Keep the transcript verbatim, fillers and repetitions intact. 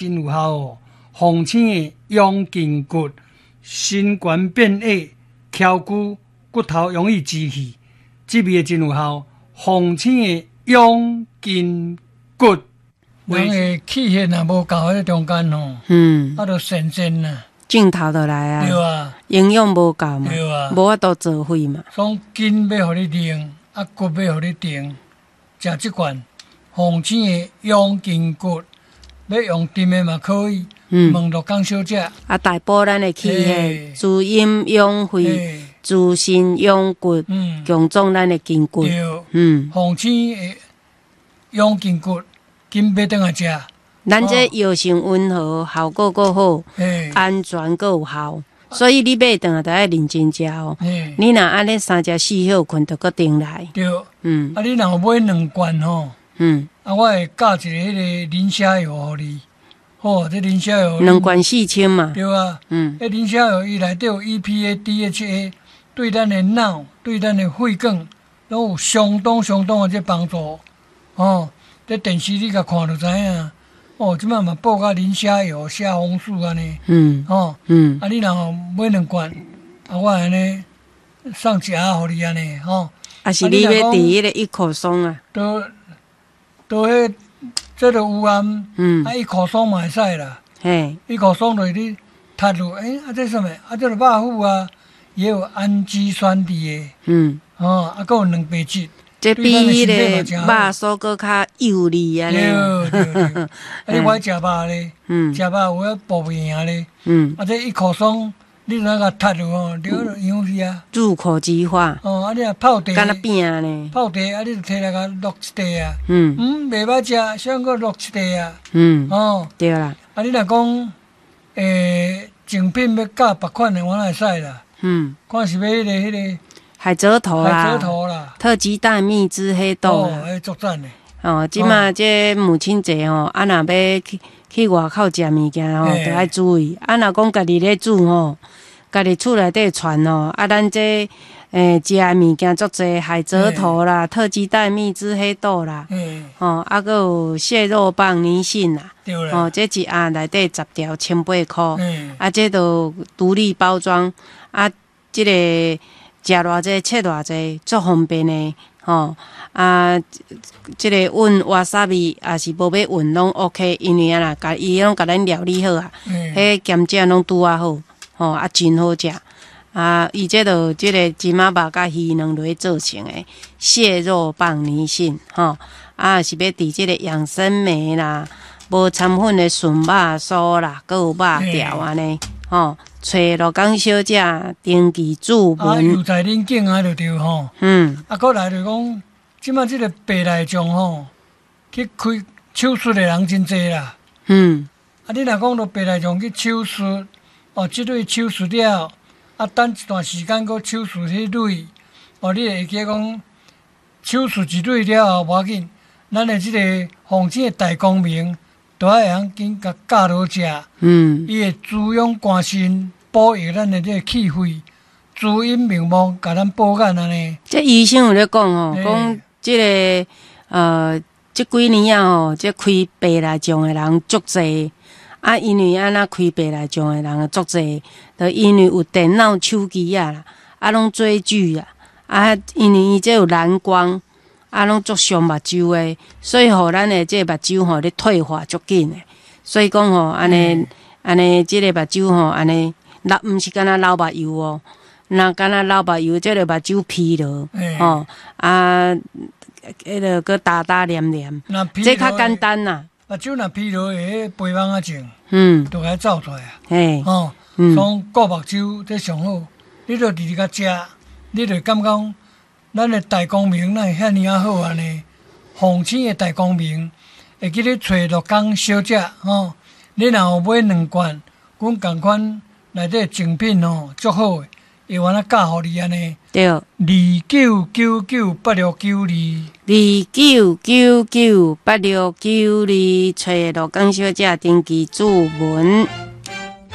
真有效哦。防醒的養筋骨，身懸變矮，翹骨骨頭容易支氣，這味真有效。防醒的養筋骨，人的氣血若無夠，彼個中間吼，嗯，啊，就神仙啊，鏡頭就來啊，對啊，營養無夠嘛，對啊，無法度做伙嘛。所以筋欲予你硬，啊骨欲予你定，食這罐防醒的養筋骨，欲用甜的嘛可以，嗯，問鹿港小姐。啊，大補咱的氣血，滋陰養肺，滋身養骨，強壯咱的筋骨。對，嗯，防醒的養筋骨，緊買轉來食。咱這藥性溫和，效果閣好，安全閣有效，所以你買轉來著愛認真食哦。你若按呢三食四歇睏，就閣轉來。對，嗯，啊，你若有買兩罐吼，嗯，啊，我會加一个彼个磷蝦油予你。好，這磷蝦油兩罐四千嘛。對啊，嗯，彼磷蝦油伊內底有 E P A、D H A，對咱的腦、對咱的血管，攏有相當相當的這幫助。哦，這電視你共看就知影。哦，這擺嘛報甲磷蝦油、蝦紅素按呢。嗯。哦。嗯。啊，你若買兩罐，啊，我按呢送一盒予你按呢，吼。啊是你欲佇彼个一口松啊？都都彼這个有啊，嗯，啊，一口松嘛會使啦。嘿。一口松就是你讀落，欸，啊，這啥物？啊，這个肉脯啊，也有氨基酸佇的。嗯。哦，啊，閣有蛋白質。這比彼个肉酥閣較幼膩按呢。對對對，啊，你無愛食肉咧？嗯。食肉有影補袂贏咧。嗯。啊，這一口鬆，你若共讀落吼，就營養去啊。入口即化。哦，啊，你若泡茶。敢若餅呢？泡茶啊，你就提來共淥一塊啊。嗯。嗯，袂歹食，啥閣淥一塊啊。嗯。哦。對啦。啊，你若講，欸，贈品欲加別款的，我哪會使啦。嗯。看是欲彼个彼个。海蜇頭啦，海蜇頭啦，特級大蜜汁黑豆啦，哦，彼足讚的。哦，這馬這母親節吼，啊，若欲去去外口食物件吼，著愛注意。啊，若講家己咧煮吼，家己厝內底傳吼，啊，咱這欸食的物件足濟，海蜇頭啦，特級大蜜汁黑豆啦，吼，啊，閣有蟹肉棒泥蕈啦，吼，這一盒內底十條，千八箍，啊，這都獨立包裝，啊，這个食偌濟切偌濟，足方便的，吼啊！這个混わさび，抑是無欲混攏 OK，因為按怎，共伊攏共咱料理好啊，彼鹹醬攏拄仔好，吼啊，真好食。啊，伊這就這个芝麻肉佮魚卵落去做成的蟹肉棒泥蕈，吼啊，是欲佇這个養生梅啦，無摻粉的筍肉酥啦，閣有肉條按呢，吼。揣鹿港小姐登記註啊，文。油在恁境啊，就對吼。嗯。啊，閣來就講，這擺這个白內障吼，去開手術的人真濟啦。嗯。啊，你若講著白內障去手術，哦，這蕊手術了，啊，等一段時間閣手術彼蕊，哦，你會記講手術一蕊了後無要緊，咱的這个防醒的大光明，都愛會曉緊共教落食。嗯。伊會滋養肝腎，保育咱的這个氣血，滋陰明目，共咱保眼按呢。這醫生有咧講吼，講這个呃，這幾年啊吼，這開白內障的人足濟。啊，因為按怎開白內障的人足濟，就因為有電腦、手機啊啦，啊，攏追劇啊，啊，因為伊這有藍光，啊，攏足傷目睭的，所以予咱的這个目睭吼咧退化足緊的。所以講吼，按呢按呢，這个目睭吼，按呢，流毋是干焦流目油哦，若干焦流目油，這个目睭疲勞，吼啊，彼个閣焦焦黏黏，這較簡單啦。目睭若疲勞會彼白網仔症，嗯，就共走出來啊。嘿，吼，所以顧目睭這上好，你著直直共食，你就感覺講，咱的大光明哪會遐爾仔好按呢？防醒的大光明，會記得揣鹿港小姐吼，你若有買兩罐，阮仝款內底贈品吼足好的，會願仔教予你按呢。對。二九九九八六九二。二九九九八六九二，揣鹿港小姐登記註文。